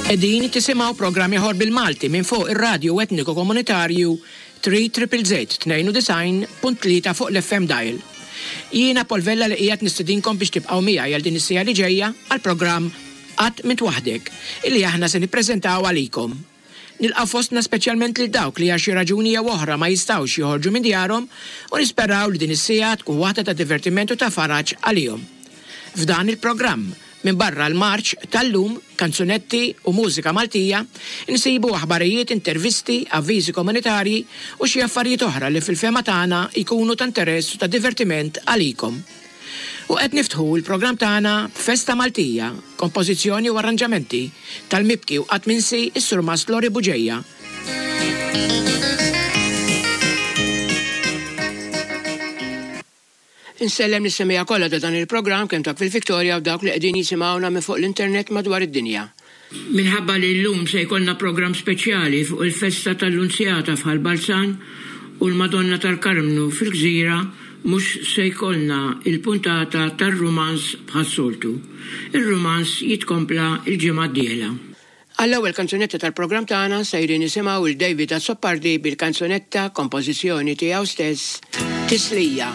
Qegħdin tisimgħu programm ieħor bil-Malti minn fuq ir-radju etniku komunitarju 3 ZZZ 92.3 fuq l-FM dial. Jiena Paul Vella li qiegħed nistedinkom biex tibqgħu miegħi għal din is-siegħa li ġejja għall-programm Qatt M'Int Waħdek illi aħna se nippreżentaw għalikom. Nilqgħu fostna speċjalment lil dawk li għal xi raġuni jew oħra ma jistgħux joħorġu minn djarhom u nisperaw li din is-siegħa tkun waħda ta' divertiment u ta' faraġ għalihom. F'dan il-programm, minbarra l-marċ tal-lum, kanzunetti u mużika Maltija, insibu aħbarijiet, intervisti, avviżi komunitarji u xi affarijiet oħra li fil-fehma tagħna jkunu ta' interess u ta' divertiment għalikom. U qed niftħu l-programm tagħna b'Festa Maltija, kompożizzjoni u arranġamenti tal-mibki u qatt minsi s-Surmast Lori Bugeja. Insellem lis-semmiegħa kollha ta' dan il-programm kemm dawk fil-Victoria u dawk li qegħdin jisimgħuna minn fuq l-internet madwar id-dinja. Minħabba li llum se jkollna programm speċjali fuq il-festa tal-Lunzjata f'Ħal Balzan u l-Madonna tal-Karmnu fil-Gżira mhux se jkollna il-puntata tar-rumanz bħas-soltu. Ir-rumanz jitkompla l-ġimgħa d-dieħla. Għall-ewwel kanzunetta tal-programm tagħna sejrin nisimgħu 'l David Azzopardi bil-kanzunetta kompożizzjoni tiegħu stess Tislija.